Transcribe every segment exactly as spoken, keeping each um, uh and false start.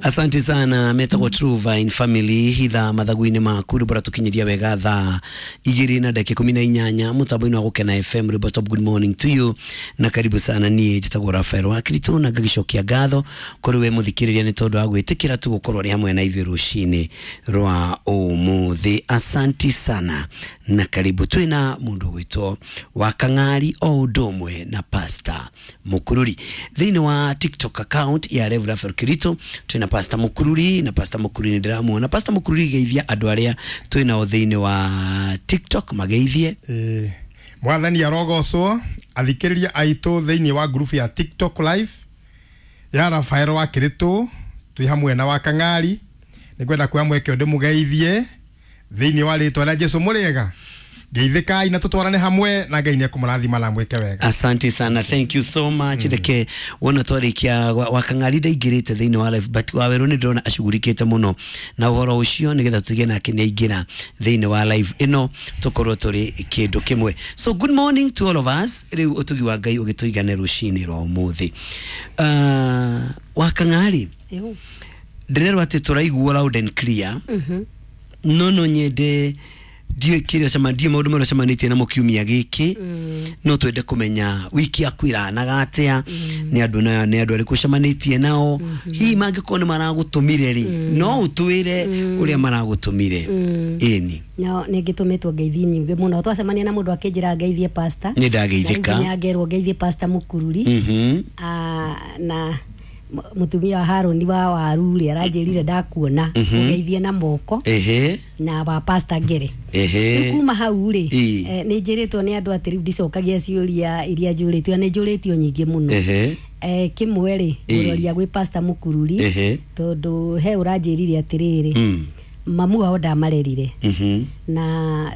Asante sana. Metagwo True Vine Family, hitha mathagu-inĩ maku, rwĩmbo rũratũkinyĩria wega thaa igĩrĩ na ndagĩka ikũmi na inyanya mũtambo-inĩ wa Gũkena F M. Rwĩmbo top. Good morning to you na karibu sana. Niĩ njĩtagwo Rafael wa Kristo na ngagĩcokia ngatho kũrĩ we mũthikĩrĩria nĩ tondũ wa gwĩtĩkĩra tu gũkorwo rĩ hamwe na ithuĩ rũcinĩ rwa ũmũthĩ. Asanti sana na karibu. Twĩna mũndũ ũgwĩtwo wa Kang'ari o ũndũ ũmwe na Pastor Mukururi thĩinĩ wa TikTok account ya Rev Rafael Kirito. Twĩna Pastor Mukururi na Pastor Mukururi nĩ ndĩramuona. Pastor Mukururi, geithia andũ arĩa twĩnao thĩinĩ wa TikTok, mageithie. Eh, mwathani arogocwo. Athikĩrĩria aitũ thĩinĩ wa ngurubu ya TikTok live ya Rafael wa Kiritu, twĩ hamwe na wa Kang'ari, nĩ ngwenda kuoya mweke ndĩmũgeithie thĩinĩ wa rĩtwa rĩa Jesu. Mũrĩega, geithĩkai na tũtwarane hamwe na Ngai nĩekũmũrathima na mwĩke wega. Asante sana, thank you so much. Reke wona twarikia wa Kang'ari ndaingĩrĩte thĩinĩ wa live, but Wawerũ nĩ ndĩrona acugurikĩte mũno na ũhoro ũcio, nĩgetha tũtige nake nĩ aingĩra thĩinĩ wa live ĩno tũkorwo tũrĩ kĩndũ kĩmwe. So good morning to all of us. Rĩu ũtugi wa Ngai ũgĩtũigane rũcinĩ rwa ũmũthĩ. uh, wa Kang'ari, ndĩrerwo atĩ tũraiguo loud and clear. No no nyende ndiũĩ kĩrĩa ũcema, ndiũĩ maũndũ marĩa ũcemanĩtie namo kiumia gĩkĩ. No twende kũmenya wiki yaku ĩranaga atĩa, nĩ andũ na nĩ andũ arĩkũ ũcemanĩtie nao, hihi mangĩkorwo nĩ maragũtũmire rĩ, no ũtwĩre ũrĩa maragũtũmire. Ĩni. No nĩ ngĩtũmĩtwo ngeithi nyingĩ mũno. Twacemania na mũndũ akĩnjĩra ngeithie pastor. Nĩ ndageithĩka. Na rĩu nginya ngerwo ngeithie Pastor Mukururi. Mhm. Ah, na mutumia wa Haroni wa waru rĩ, aranjĩrire ndakuona ũgeithie na moko. Ehe. Na wa Pastor Ngere. Ehe. Rĩu kuma hau rĩ, Ĩ. eh, nĩ njĩrĩtwo nĩ andũ atĩ rĩu ndicokagia ciũria iria njũrĩtio, nĩ njũrĩtio nyingĩ mũno. Ehe. Eh, kĩmwe rĩ, Ĩ. ngũroria gwĩ Pastor Mukururi, Ehe. tondũ he ũranjĩrire atĩrĩrĩ, Mm. mamu wao ndamarerire, Mhm. na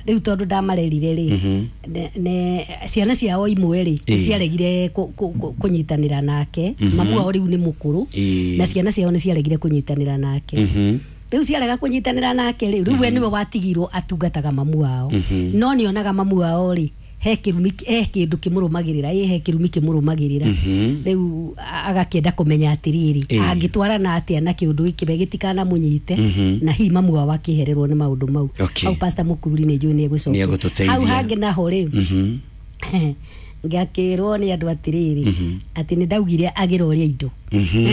rĩu tondũ ndamarerire rĩ, Mhm. ne- ne ciana ciao imwe rĩ, Ĩ. ciaregire kũ- kũ- kũ- kũnyitanĩra nake. Mamu wao rĩu nĩ mũkũrũ, Ĩ. na ciana ciao nĩ ciaregire kũnyitanĩra nake. Mhm. Rĩu ciarega kũnyitanĩra nake rĩ, rĩu we nĩwe watigirwo atungataga mamu wao. No nĩonaga mamu wao rĩ, he kĩrumi, he kĩndũ kĩmũrũmagĩrĩra, ĩ he kĩrumi kĩmũrũmagĩrĩra. Rĩu agakĩenda kũmenya atĩrĩrĩ, Ĩ. angĩtwarana atĩa na kĩũndũ gĩkĩ we gĩtikanamũnyite, na hihi mamu wao akĩhererwo nĩ maũndũ mau. Okay. Hau Pastor Mukururi nĩ njũĩ nĩ egũcokia. Nĩ egũtũteithia. Hau hangĩ naho rĩ, Mhm. ngakĩrwo nĩ andũ atĩrĩrĩ, atĩ nĩ ndaugire agĩra ũrĩa indo. Mhm.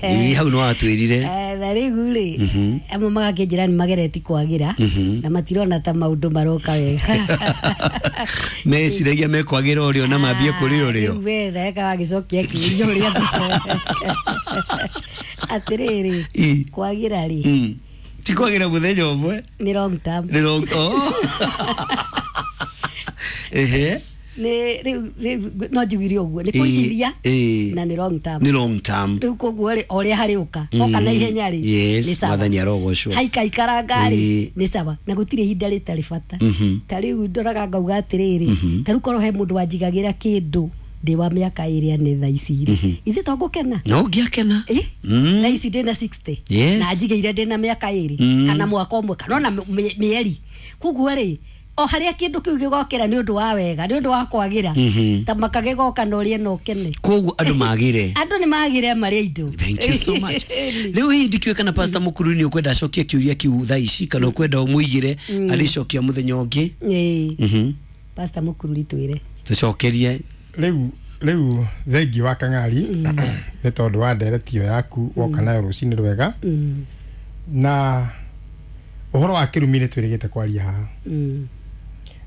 Ĩ, hau nĩ watwĩrire. Eh, na rĩu rĩ, amwe magakĩnjĩra nĩ magereti kwagĩra na matirona ta maũndũ maroka wega. Meciragia mekwagĩra ũrĩo na mambie kũrĩ ũrĩo. Rĩu we ndagĩka wagĩcokia kĩũria ũrĩa atĩrĩrĩ, Ĩ. kwagĩra rĩ, Mm. Ti kwagĩra mũthenya ũmwe. Nĩ long term. Nĩ long. Oh. Ehe. Nĩ rĩu rĩu no njugire ũguo nĩ Ĩ, kũigithia ĩ. na nĩ long term. Nĩ long term. Rĩu koguo rĩ, o ũrĩa harĩũka oka na ihenya rĩ, Yes, nĩ sawa. mwathani arogocwo. Haikaikaranga rĩ, Ĩ. nĩ sawa, na gũtirĩ ihinda rĩtarĩ bata. Mhm. Ta rĩu ndoraga ngauga atĩrĩrĩ, ta rĩu korwo he mũndũ wanjigagĩra kĩndũ ndĩ wa mĩaka ĩrĩa nĩ thaa ici rĩ, ithe to ngũkena. No ũngĩakena. Ĩ? Mm. Thaa ici ndĩna sixty, Yes. na njigĩire ndĩna mĩaka ĩrĩ Mm. kana mwaka ũmwe kana ona mĩ- mĩeri. Koguo rĩ, o harĩa kĩndũ kĩu gĩgokĩra nĩ ũndũ wa wega, nĩ ũndũ wa kwagĩra, Mhm. ta makagĩgoka na ũrĩe na ũkene. Koguo andũ magĩre. Andũ nĩ magĩre marĩa indo. Thank you so much. Rĩu hihi ndikĩũĩ kana Pastor Mukururi nĩ ũkwenda acokie kĩũria kĩu thaa ici kana ũkwenda ũmũigĩre arĩcokia mũthenya ũngĩ. Ĩ. Mhm. Pastor Mukururi, twĩre. Tũcokerie. Rĩu rĩu thengiũ wa Kang'ari nĩ tondũ wa ndereti ĩyo yaku woka nayo rũcinĩ rwega. Mm. Na ũhoro wa kĩrumi nĩ twĩrĩgĩte kwaria haha, Mm.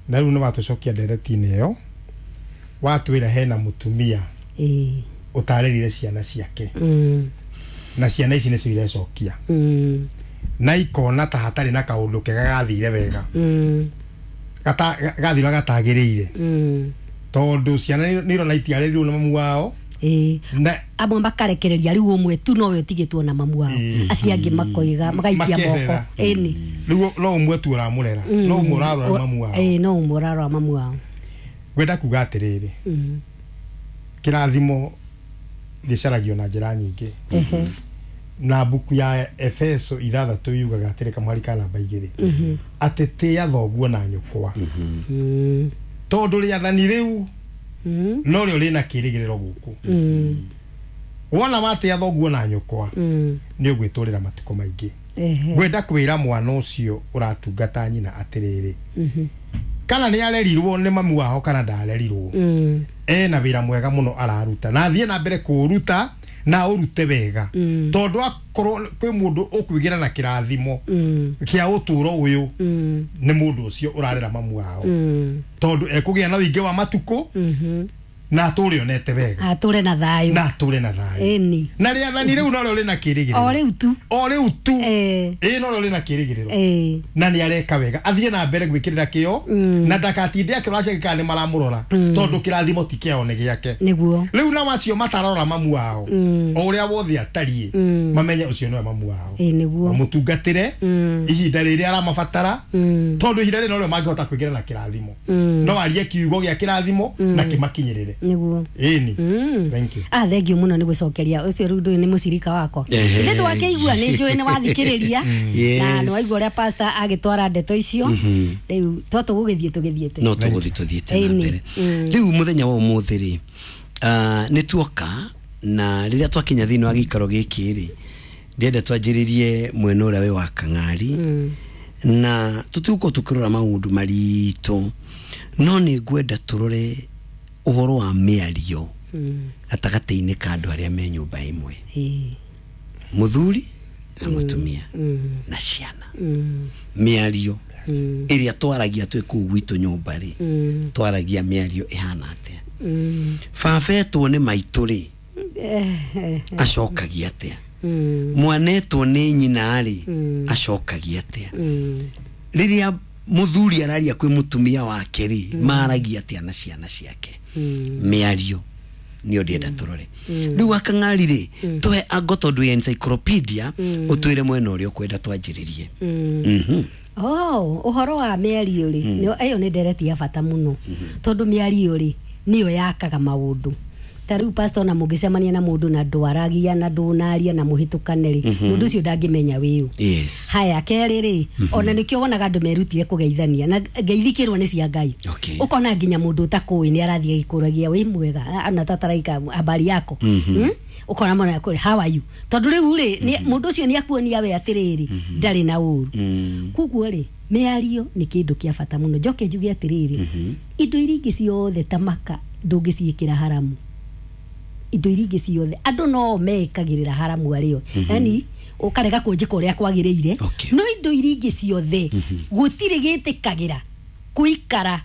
na rĩu nĩ watũcokia ndereti-inĩ ĩyo, watwĩra hena mũtumia Ĩ. ũtarĩrire ciana ciake, Mm. na ciana ici nĩcio irecokia Mm. na ikona ta hatarĩ na kaũndũ kega gathire wega, Mm. gata gathira gatagĩrĩire, Mm. tondũ ciana nĩ irona itiarĩrirwo nĩ mamu wao. Ĩ. Na Amwe makarekereria rĩu ũmwe tu nowe ũtigĩtwo na mamu wao, Ĩ. acio angĩ makoiga magaikia moko. Makeherera. Ĩni. Rĩu no ũmwe tu ũramũrera, no ũmwe ũrarora mamu wao. Ĩ, no ũmwe ũrarora mamu wao. Ngwenda kuga atĩrĩrĩ, Mm. kĩrathimo gĩcaragio na njĩra nyingĩ, Ehe. na mbuku ya Efeso ithathatũ yugaga atĩrĩ, kamwari ka namba igĩrĩ, atĩ tĩĩa thoguo na nyũkwa, Mm. tondũ rĩathani rĩu Mm. no rĩo rĩna kĩrĩgĩrĩro gũkũ. Mm. Wona watĩa thoguo na nyũkwa Mm. nĩ ũgwĩtũrĩra matukũ maingĩ. Ehe. Ngwenda kwĩra mwana ũcio ũratungata nyina atĩrĩrĩ, Mhm. kana nĩ arerirwo nĩ mamu wao kana ndarerirwo, Mm. ena wĩra mwega mũno araruta na athiĩ na mbere kũũruta na ũrute wega, Mm. tondũ akorwo kwĩ mũndũ ũkwĩgĩra na kĩrathimo Mm. kĩa ũtũro ũyũ, Mm. nĩ mũndũ ũcio ũrarera mamu wao, Mm. tondũ ekũgĩa na ũingĩ wa matukũ Mhm. na atũre onete wega, atũre na thayũ, na atũre na thayũ. Ĩni. Na rĩathani rĩu norĩo rĩna O kĩrĩgĩrĩro. rĩu tu. O rĩu tu. Eh. Ĩ, norĩo rĩna kĩrĩgĩrĩro. Eh. Na nĩ areka wega, athiĩ na mbere gwĩkĩrĩra kĩo, Mm. na ndakatinde akĩrora ciake kana nĩ maramũrora, tondũ kĩrathimo ti kĩao, nĩ gĩake. Nĩguo. Rĩu nao acio matarora mamu wao, Mm. o ũrĩa wothe atariĩ, Mm. mamenye ũcio nĩwe mamu wao, Ĩ, nĩguo. mamũtungatĩre Mm. ihinda rĩrĩa aramabatara, Mm. tondũ ihinda rĩrĩ norĩo mangĩhota kwĩgĩra na kĩrathimo. Mm. No arie kiugo gĩa kĩrathimo na kĩmakinyĩrĩre. Nĩguo. Ĩni. Mm. Thank you. Ah, thank you mũno nĩ gũcokeria ũcio. Rĩu ndũĩ nĩ mũcirika wakwa. Ehe. Ithe ndwakĩigua, nĩ njũĩ nĩ wathikĩrĩria Yes. na nĩ waigua ũrĩa pastor agĩtwara ndeto icio. Rĩu to tũgũgĩthiĩ tũgĩthiĩte. No tũgũthiĩ tũthiĩte na Ĩni. mbere. Mm. Rĩu mũthenya wa ũmũthĩ rĩ, ah, nĩ tuoka na rĩrĩa twakinya thĩinĩ wa gĩikaro gĩkĩ rĩ, ndĩrenda twanjĩrĩrie mwena ũrĩa wĩ wa Kang'ari, Mm. na tũtigũkorwo tũkĩrora maũndũ maritũ, no nĩ ngwenda tũrore ũhoro wa mĩario Mm. gatagatĩ-inĩ ka andũ arĩa me nyũmba ĩmwe, Ĩ. mũthuri na mũtumia Mm. na ciana. Mm. Mĩario Mm. ĩrĩa twaragia twĩ kũu gwitũ nyũmba rĩ, Mm. twaragia mĩario ĩhana atĩa? Mm. Baba etwo nĩ maitũ rĩ, Eh, acokagia atĩa? Mm. Mwana etwo nĩ nyina rĩ, Mm. acokagia atĩa? Mm. Rĩrĩa mũthuri araria kwĩ mũtumia wake rĩ, maragia atĩa na ciana ciake? Mm. Mĩario nĩyo ndĩrenda tũrore rĩu. Akang'ari rĩ, tũhe ango, tondũ ya encyclopedia, ũtwĩre mwena ũrĩa ũkwenda twanjĩrĩrie. Mm. Mhm. Oh, ũhoro wa mĩario rĩ, nĩyo- ĩyo nĩ ndereti ya bata mũno, tondũ mĩario rĩ nĩyo yakaga maũndũ. Ta rĩu pastor, ona mũngĩcemania na mũndũ na ndwaragia na ndũnaria na mũhĩtũkane rĩ, mũndũ ũcio ndangĩmenya wĩũ. Yes haya, kerĩ rĩ, ona nĩkĩo wonaga andũ merutire kũgeithania na ngeithikĩrwo nĩ cia Ngai. Okay. Ũkona nginya mũndũ ũtakũĩ nĩ arathiĩ agĩkũragia wĩ mwega, ana tataraika habari yako. Mm? Ũkona mwana akũrĩ, "How are you?" Tondũ rĩu rĩ, nĩ- mũndũ ũcio nĩ akuonia we atĩrĩrĩ ndarĩ na ũru. Mm. Koguo rĩ, mĩario nĩ kĩndũ kĩa bata mũno. Njoke njuge atĩrĩrĩ, indo iria ingĩ ciothe ta maka ndũngĩciĩkĩra haramu. Indo iria ingĩ ciothe andũ no mekagĩrĩra haramu arĩo, yani ũkarega kũnjĩka ũrĩa kwagĩrĩire. Okay. No indo iria ingĩ ciothe gũtirĩ gĩtĩkagĩra kũikara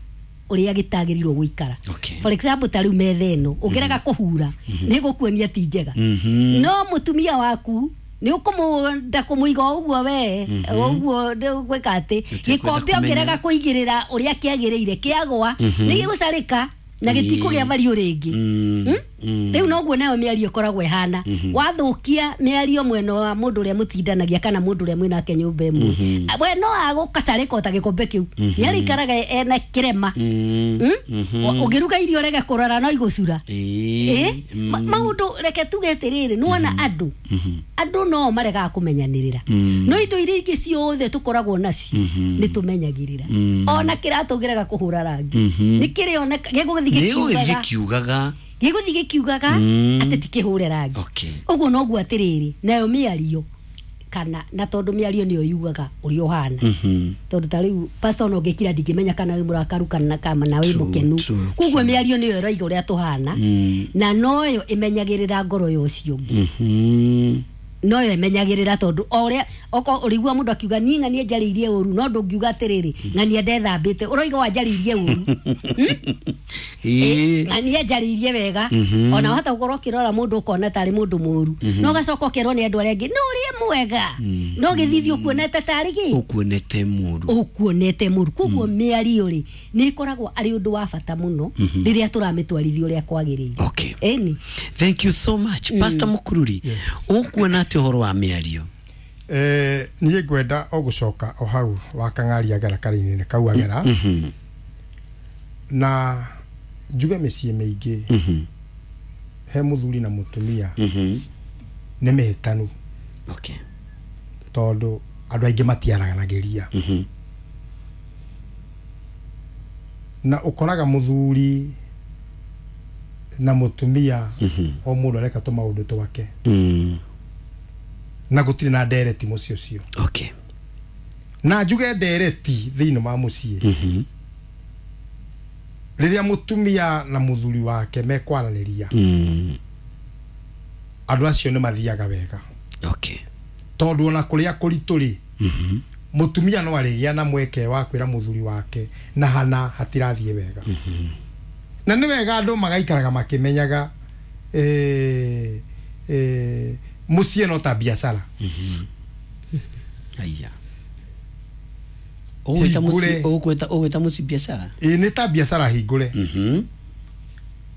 ũrĩa gĩtagĩrĩirwo gũikara. Okay. For example, ta rĩu metha ĩno ũngĩrega kũhura nĩ gũkuonia ti njega, Mhm. no mũtumia waku nĩ ũkũmũnda kũmũiga o ũguo we o ũguo gwĩka atĩ gĩkombe kũmenya. ũngĩrega kũigĩrĩra ũrĩa kĩagĩrĩire, kĩagwa nĩ gĩgũcarĩka na gĩtikũgĩa value rĩngĩ. Mm. Hmm? Mm. Rĩu noguo nayo mĩario ĩkoragwo ĩhana. Wathũkia mĩario mwena wa mũndũ ũrĩa mũtindanagia kana mũndũ ũrĩa mwĩnake nyũmba ĩmwe, we no agũkacarĩka o ta gĩkombe kĩu, nĩ arĩikaraga ena kĩrema. Mm. Hmm? Ũ- ũngĩruga irio rege kũrora no igũcura. Ĩĩ. Ĩ, ma- maũndũ reke tuge atĩrĩrĩ, nĩwona andũ andũ no maregaga kũmenyanĩrĩra, no indo iria ingĩ ciothe tũkoragwo nacio nĩ tũmenyagĩrĩra. Ona kĩratũ ũngĩrega kũhũra rangi nĩ kĩrĩoneka gĩgũgĩthiĩ nĩ gũgĩthiĩ gĩkiugaga, kiugaga. Gĩgũthiĩ gĩkiugaga Mm. atĩ ti kĩhũre rangi. Okay. Ũguo noguo atĩrĩrĩ nayo mĩario, kana na tondũ mĩario nĩyo yugaga ũrĩa ũhana, Mhm. tondũ ta rĩu pastor, no ngĩkira ndingĩmenya kana wĩ mũrakaru kana kana wĩ True, mũkenu. true, Koguo mĩario nĩyo ĩroiga ũrĩa tũhana, Mm. na noyo ĩmenyagĩrĩra ngoro ya ũcio ũngĩ. Mhm. Noyo ĩmenyagĩrĩra, tondũ o ũrĩa oko ũrĩigua mũndũ akiuga niĩ ng'ania njarĩirie ũru, no ndũngiuga atĩrĩrĩ ng'ania ndethambĩte, ũroiga wanjarĩirie ũru. Ĩĩ. Ng'ania njarĩirie wega. Ona wahota gũkorwo ũkĩrora mũndũ ũkona tarĩ mũndũ mũru, no ũgacoka ũkerwo nĩ andũ arĩa angĩ no ũrĩa mwega, no gĩthithi ũkuonete tarĩ gĩ ũkuonete mũru. Ũkuonete mũru. Koguo mĩario rĩ nĩ ĩkoragwo arĩ ũndũ wa bata mũno rĩrĩa tũramĩtwarithia ũrĩa kwagĩrĩire. Okay. Ĩni. Thank you so much. Pastor Mukururi, ũkuona atĩ ũhoro wa mĩario? Eh, niĩ ngwenda o gũcoka o hau wa Kang'ari agera karine kau agera, Mhm. na njuge mĩciĩ mĩingĩ Mhm. he mũthuri na mũtumia Mhm. nĩ mĩhĩtanu, Okay. tondũ andũ aingĩ matiaranagĩria, Mhm. na ũkoraga mũthuri Na mũtumia o mũndũ areka tũmaũndũ twake Mm. na gũtirĩ na ndereti mũciĩ ũcio. Okay. Na njuge ndereti thĩinĩ wa mũciĩ, Mhm. rĩrĩa mũtumia na mũthuri wake mekwaranĩria, Mm. andũ acio nĩ mathiaga wega, Okay. tondũ ona kũrĩa kũritũ rĩ, Mhm. mũtumia no arĩgĩa na mweke wa kwĩra mũthuri wake na hana hatirathiĩ wega. Na nĩ wega andũ magaikaraga makĩmenyaga eh, eh, mũciĩ no ta biacara. Aya. Ũgwĩta mũciĩ Hingũre. ũgwĩta ũgwĩta mũciĩ biacara? Ĩ, nĩ ta biacara hingũre. Mhm.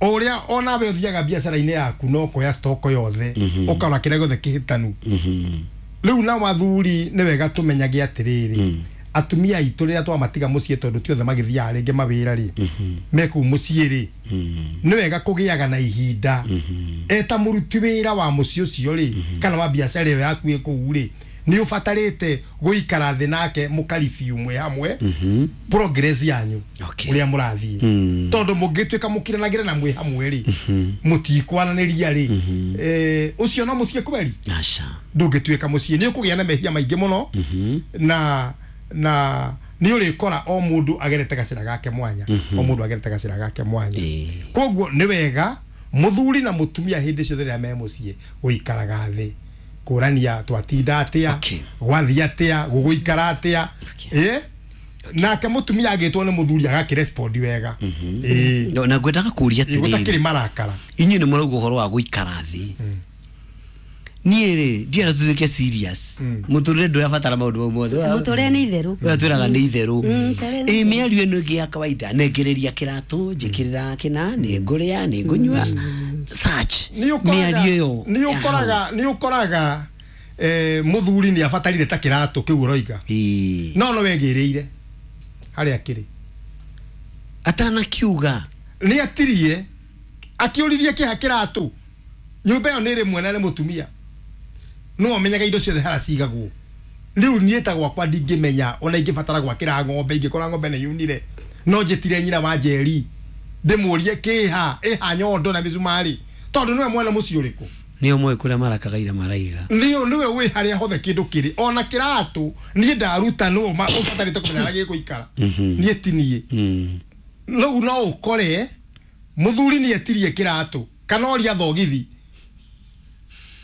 O ũrĩa onawe ũthiaga biacara-inĩ yaku no kuoya stock yothe, Mhm. ũkarora kĩrĩa gĩothe kĩhĩtanu. Mhm. Rĩu na wathuri nĩ wega tũmenyage atĩrĩrĩ, Mm. atumia aitũ rĩrĩa twamatiga mũciĩ, tondũ ti othe magĩthiaga rĩngĩ mawĩra rĩ, Mhm. me kũu mũciĩ rĩ, Mm. nĩ wega kũgĩaga na ihinda Mhm. eta mũruti wĩra wa mũciĩ ũcio rĩ, kana wa biacara ĩyo yaku ĩ kũu rĩ, nĩ ũbatarĩte gũikara thĩ nake mũkaribiu mwĩ hamwe Mhm. progress yanyu, Okay. ũrĩa mũrathiĩ, Mm. tondũ mũngĩtuĩka mũkiranagĩre na mwĩ hamwe rĩ, mũtikwaranĩria rĩ, eh, ũcio no mũciĩ kweri? Aca. Ndũngĩtuĩka mũciĩ, nĩ ũkũgĩa na mehia maingĩ mũno, Mhm. na na nĩ ũrĩkora o mũndũ agerete gacĩra gake mwanya, o mũndũ agerete gacĩra gake mwanya. Ĩĩ. Koguo nĩ wega mũthuri na mũtumia hĩndĩ ciothe rĩrĩa me mũciĩ gũikaraga thĩ kũrania twatinda atĩa, Okay. gwathiĩ atĩa, gũgũikara atĩa. Okay. Ĩ, nake mũtumia agĩtwo nĩ mũthuri agakĩrespondi wega. Ĩ. No, na ngwendaga kũria Ĩ, gũtakĩrĩ atĩrĩrĩ, marakara. Inyuĩ nĩ mũrauga ũhoro wa gũikara thĩ. Niĩ rĩ, ndienda tutuĩke serious. Mũtũrĩre ndũrabatara maũndũ mau mothe. Mũtũrĩre nĩ itherũ. Ũrĩa twĩraga nĩ itherũ. Mm, tarĩ nĩ. Ĩ, mĩario ĩno ĩngĩ ya kawaida, nengereria kĩratũ, njĩkĩrĩra kĩna, nĩ ngũrĩa, nĩ ngũnyua, such Nĩ ũkoraga mĩario ĩyo nĩ ya hau. ũkoraga nĩ ũkoraga eh, mũthuri nĩ abatarire ta kĩratũ kĩu ũroiga, Ĩĩ. no no wegĩrĩire harĩa kĩrĩ. Atanakiuga. Nĩ atirie akĩũririe kĩha kĩratũ. Nyũmba ĩyo nĩ ĩrĩ mwena nĩ mũtumia no amenyaga indo ciothe harĩa cigagwo. Rĩu niĩ ta gwakwa ndingĩmenya ona ingĩbatara gwakĩra ng'ombe, ingĩkora ng'ombe nĩ yunire, no njĩtire nyina wa Njeri ndĩmũrie kĩha ĩha nyondo na mĩcumarĩ, tondũ nĩwe mwene mũciĩ ũrĩkũ. Nĩo moĩ kũrĩa marakagaira maraiga. Nĩo nĩwe wĩ harĩa hothe kĩndũ kĩrĩ, ona kĩratũ niĩ ndaruta nĩwe ma- ũbatarĩte kũmenya harĩa gĩgũikara, niĩ ti niĩ. Mm. Rĩu no ũkore mũthuri nĩ etirie kĩratũ kana oria thogithi,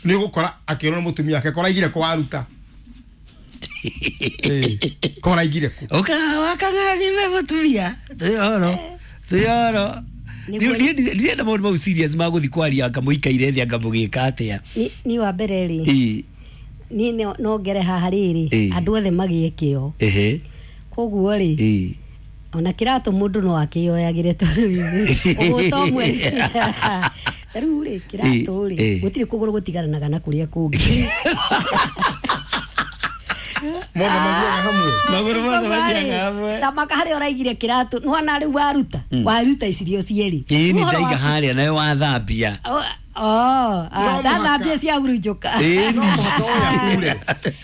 nĩ ũgũkora akĩrwo nĩ mũtumia wake koraigire kũ waruta. Ĩ, koraigire kũ. Ũka wakang'ang'ire mũtumia twĩ horo twĩ horo. Nĩguo- Ndirenda maũndũ mau serious ma gũthiĩ kwaria anga mũikaire thĩ anga mũgĩka atĩa. Ni- ni wa mbere rĩ, Ĩ. niĩ no- no ngere haha rĩrĩ, Ĩ. andũ othe magĩe kĩo. Ehe. Koguo rĩ, Ĩ. ona kĩratũ mũndũ no akĩyoyagĩre, tondũ rĩrĩ ũgũta ũmwe ta rĩu rĩ, kĩratũ rĩ, Ĩ. gũtirĩ kũgũrũ gũtigaranaga na kũrĩa kũngĩ. Mothe mathiaga hamwe. Magũrũ mothe Koguo rĩ, mathiaga hamwe. ta maka harĩa ũraigire kĩratũ nĩwona rĩu waruta waruta icirio cierĩ. Ĩ, nĩ Ũhoro ndaiga waku- harĩa nayo wathambia. Oh, oh, ah, No mũhaka- ndathambia cia hurunjũka. Ĩ. No mũhaka ũyũ akure.